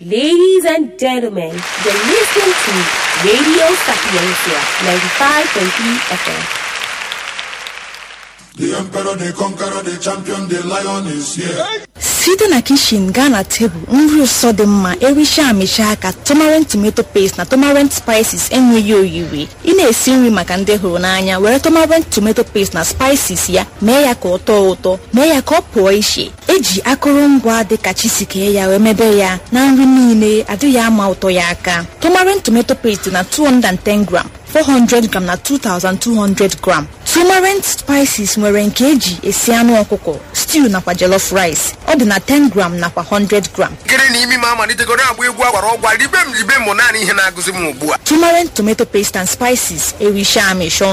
Ladies and gentlemen, you're listening to Radio Sapiencia 95.3 FM. The emperor, the conqueror, the champion, the lion is here. Site na kishin gaa na tebụl, nri ụsọ dị mma ericha amịcha aka. Tomarent tomato paste na Tomarent spices enweghị oyiri. Ị na-esi nri maka ndị hụrụ n'anya, were Tomarent tomato paste na spices ya mee ya ka ọ tọọ ụtọ, mee ya ka ọ pụọ iche. Eji akụrụngwa dịka chisikee ya wee mebe ya na nri niile adịghị ama ụtọ ya aka. Tomarent tomato paste dị na 210 gram, 400 gram na 2200 gram. Turmeric spices nwere nke eji esi anụ ọkụkọ, stew nakwa jollof rice. Ọ dị na 10 gram nakwa 100 gram. Nkiri na imi m amalitegoro agba egwu agwara ọgwa, ribe m ribe m, naanị ihe na-agụzi m ugbu a. Turmeric tomato paste and spices ericha amịcha ọnụ.